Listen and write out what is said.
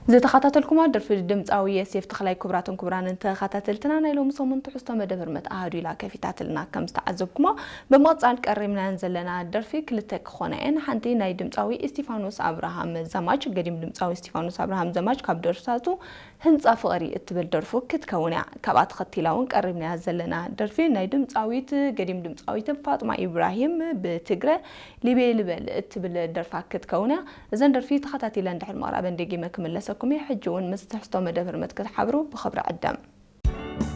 ዝተኸታተልኩማ ደርፊ ድምፃዊ የሴፍ ተኽላይ። ክቡራትን ክቡራንን ተኸታተልትና፣ ናይ ሎሚ ሰሙን ትሕዝቶ መደብ ህርመት ኣሃዱ ኢላ ከፊታትልና። ከም ዝተዓዘብኩሞ፣ ብምቕፃል ቀሪብናያን ዘለና ደርፊ ክልተ ክኾና እየን። ሓንቲ ናይ ድምፃዊ እስቲፋኖስ ኣብርሃም ዘማች፣ ገዲም ድምፃዊ እስቲፋኖስ ኣብርሃም ዘማች ካብ ደርፍታቱ ህንፃ ፍቕሪ እትብል ደርፉ ክትከውን እያ። ካብኣ ተኸቲላ እውን ቀሪብናያ ዘለና ደርፊ ናይ ድምፃዊት፣ ገዲም ድምፃዊት ፋጥማ ኢብራሂም ብትግረ ሊቤ ልበል እትብል ደርፋ ክትከውን እያ። እዘን ደርፊ ተኸታቲለ እንድሕር ምቕራበን ደጊመ ክምለሰኩም እየ። ሕጂ እውን ምስ ትሕዝቶ መደብ ህርመት ክትሓብሩ ብኽብሪ ዕደም።